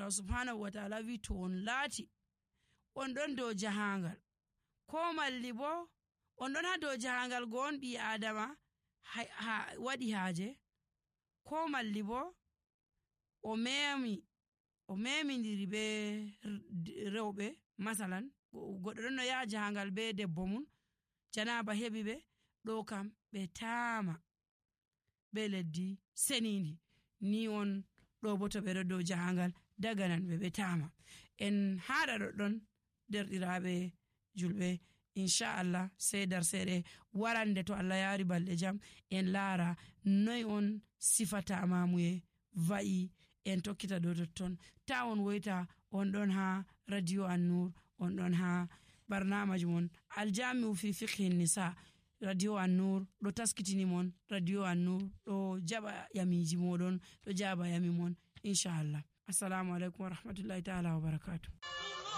Allah subhanahu wa ta'ala wi to on laati on ɗon dow jahangal ko malli bo on ɗon ha dow jahangal go on ɓi adama waɗi haaje ko malli bo o memidiri be rewɓe masalan goɗɗo ɗon no yaha jahangal be debbo mum janaba heɓi ɓe ɗo kam ɓe taama be leddi senidi ni on ɗo bo to ɓe ɗo dow jahangal daganan ɓe taama en haɗa ɗoɗɗon derɗiraɓe julɓe inchallah sai darseɗe warande to Allah yari balɗe jam en laara noy on sifata mamuye va'i en tokkita dow totton ta on woyta on ɗon ha radio An-Nur on ɗon ha barnamaji mon aljami'u fi fiqhi nisa radio An-Nur ɗo taskitini mon radio An-Nur ɗo jaɓa yamiji moɗon ɗo jaɓa yami mon inchallah. Assalamu alaikum wa rahmatullahi ta'ala wa barakatuh.